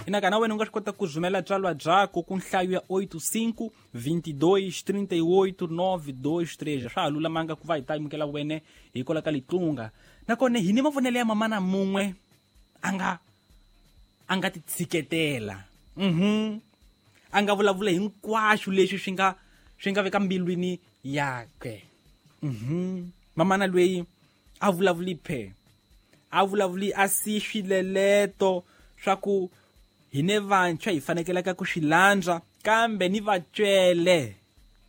Inaka na wena u nga swi kota ku rhumela byalwa byako ku nhlayo ya 85 22 38 923. Swa ha lulamanga ku va hi ta amukela wene hi kola ka litlunga. Nakona hi ni mavonelo ya mamana mun'we a nga ti tshiketela. A nga vulavula hinkwaswo leswi swi nga veka mbilwini yakwe. Mamana loyi a vulavuli phe, a vulavuli a si swileleto swa ku hi ne vantshwa hi fanekelaka ku swi landza, kambe ni vatswele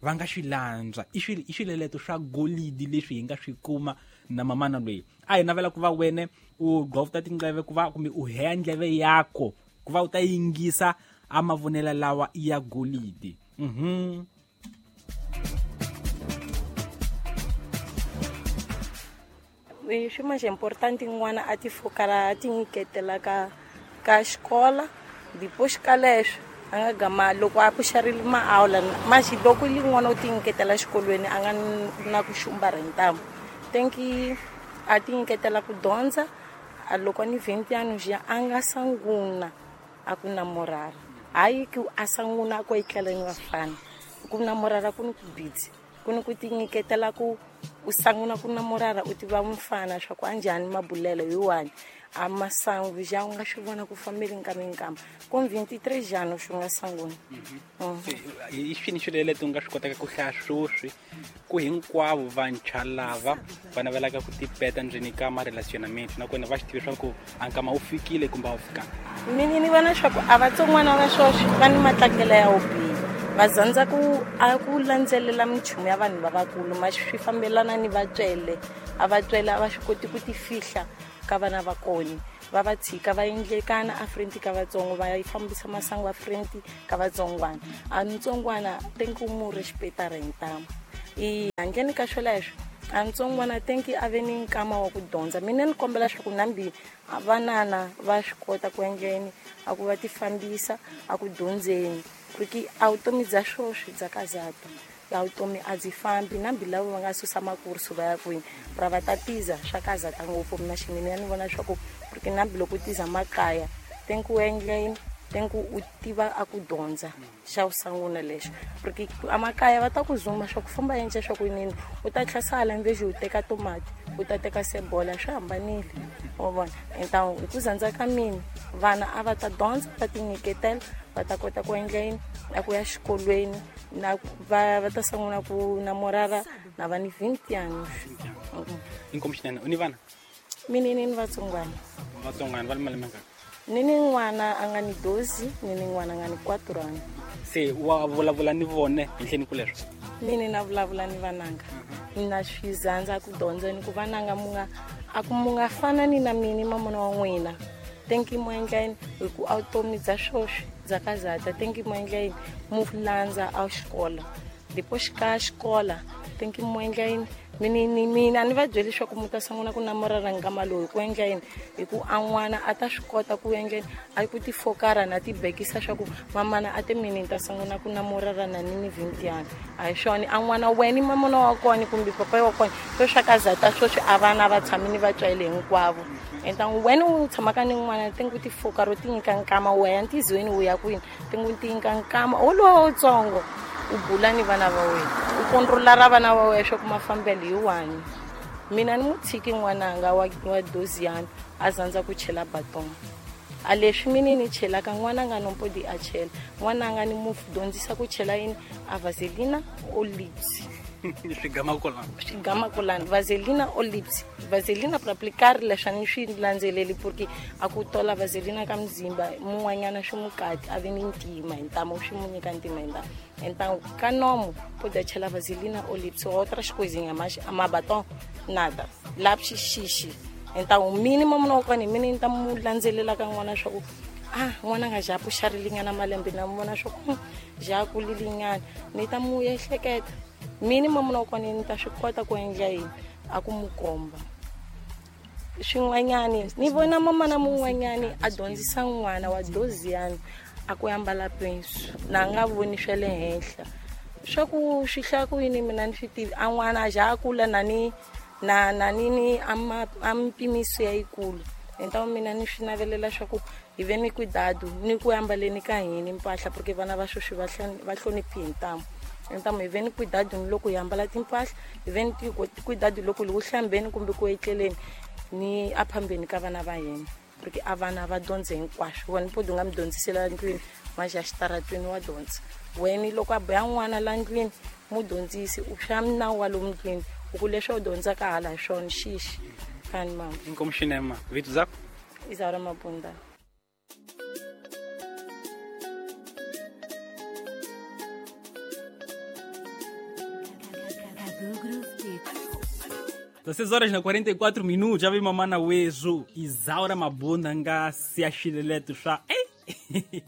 va nga swi landza. I swileleto swa golidi leswi hi nga swi kuma na mamana loyi. A hi navela ku va wene u gqovta tindleve ku va kumbe u heya ndleve yako ku va u ta yingisa a mavonelo lawa ya golidi. Swi manje important n'wana a ti fokala a ti nyiketela ka xikola depois ka leswo a nga gama loko a puxarile maawula maxi loko li n'wana u ti nyiketela xikolweni a nga na ku xumba rentamu tenki a ti nyiketela ku dyondza a loko ni 20 anos ya a nga sanguna a ku namorara hayi ku a sanguna ku etlela ni vafana ku namorara ku ni ku busy ku ni ku ti nyiketela ku u sanguna ku namorara u tiva mufana swa ku anjhani mabulelo hi wani a masangu ja u nga swi vona ku fambile nkama ku 23 anos swi nga sanguna. I swini swilo u nga swi kotaka ku hlaya swoswi ku hinkwavo vantshwa lava va navelaka ku tipeta ndzeni ka ma-relationamento nakona va swi tivi swa ku a nkama wu fikile kumbe a wu fikanga? Mina ni vona swa ku a vatsongwana va swoswi va ni matlangelo ya wo biha, va zandza ku a ku landzelela minchumu ya vanhu lavakulu ma swi fambelana ni vatswele. A vatswele a va swi koti ku ti fihla ka vana va kona, va va tshika va endlekana a front ka vatsongo, va fambisa masangu a front ka vatsongwana. A ntsongwana tenki mu respecta rentamu i handleni ka swoleswo a ntsongwana tenki a ve ni nkama wa ku dyondza. Mina ni kombela swa ku nambi vanana va swi kota ku endleni a ku va ti fambisa a ku dyondzeni ku a vutomi bya swoswi bya kazata ya vutomi a byi fambi nambi lava va nga susa makursu va ya kwini ra va ta tiza swa kazata ngopfu. Mina xinene ya ni vona swa ku porque nambi loko u tiza makaya tenki u endleni tenki u tiva a ku dyondza xa sanguna lexo porque amakaya va ta ku zuma swa ku famba endla swa ku yini u ta tlhasala mveji u teka tomati u ta teka sebola swi hambanile wa vona. Então hi ku zandza ka mina vana a va ta dyondza va ti nyiketela va ta kota ku endla yini a ku ya xikolweni na va ta sanguna ku namorara na va ni 20 anos. Inkomu xinene. U ni vana? Mina ni vatsongwana. Vatsongwana va le malembe mangani? Ni ni n'wana a nga ni 12, ni ni n'wana a nga ni 4 anos. Se wa vulavula ni vone hi nhleni ku leswo? Mina na vulavula ni vananga. Na swi zandza ku dyondza ni ku vananga munga a ku munga fana ni na mina mamona wa n'wina. Tenki mo endla yini hi ku a vutomi bya swoswi bya kazata tenki mo endla yini mu landza a xikola depois ka xikola tenki mo endla yini mina ni va byeli leswaku mu ta sungula ku namorara nkama lowu ku endla yini hi ku a n'wana a ta swi kota ku endla yini a ku ti fokara na ti bekisa swa ku mamana a te mina ni ta sungula ku namorara na ni ni 20 anos a hi swona a n'wana wena mamana wa kona kumbe papa wa kona swo swa kazata swoswi a vana va tshami ni vatswele hinkwavo. Então wena u tshamaka ni n'wana tengi ti fokara u ti nyika nkama wa ya ntizweni u ya kwini tengi ti nyika nkama wolowo wutsongo u bula ni vana va wena u controla ra vana va wena swa ku mafambelo hi wani. Mina ni mu tshiki n'wananga wa 12 anos a zandza ku chela baton a leswi mina ni chelaka n'wananga no mpodi a chela n'wananga ni mu dyondzisa ku chela yini a vaselina o lips swigama kulani vaselina o lips vaselina para aplicar leswi ni swi landzeleli porque a ku tola vaselina ka mzimba mun'wanyana swi mukati a ve ni ntima hi ntamu swi mu nyika ntima hi ntamu. Então ka nomo pode chela vaselina o lips outras coisinhas mas a batom nada lápis xixi. Então o mínimo no kona mina ni ta mu landzelela ka n'wana swa ku ah n'wana nga ja puxarilinyana malembe na vona swa ku ja kulilinyana ni ta mu ehleketa minimum no kona ni ta swi kota ku endla yini a ku mu komba swin'wanyani. Ni vona mamana mun'wanyani a dyondzisa n'wana wa 12 anos a ku ambala pensu na nga voni swa le henhla swa ku swi hlaya ku yini mina ni swi tivi a n'wana a ja a kula na ni na na ni ni a mpimiso ya yikulu Entamu mina ni swi navelela swa ku hi ve ni cuidado ni ku ambaleni ka hini mpahla, porque vana va sweswi va hloniphi hi ntamu. Entamu hi ve ni cuidado ni loko hi ambala timpahla, hi ve ni cuidado loko hi ku hlambeni kumbe ku etleleni ni aphambeni ka vana va hina, porque a vana va dyondze hinkwaswo. Wena podi u nga mi dyondzisela ndlwini, maxa xitaratweni wa dyondza. Wena loko a boya n'wana la ndlwini, mu dyondzisi u swa nawu wa lomu ndlwini, u ku leswi u dyondzaka hala hi swona xixi kani mama. Inkomu xinema. Vito zako? Isaura Mabunda. 16 horas na 44 minutos, já vi mamana wezo Isaura Mabunda nga siaxileleto swa. Ei!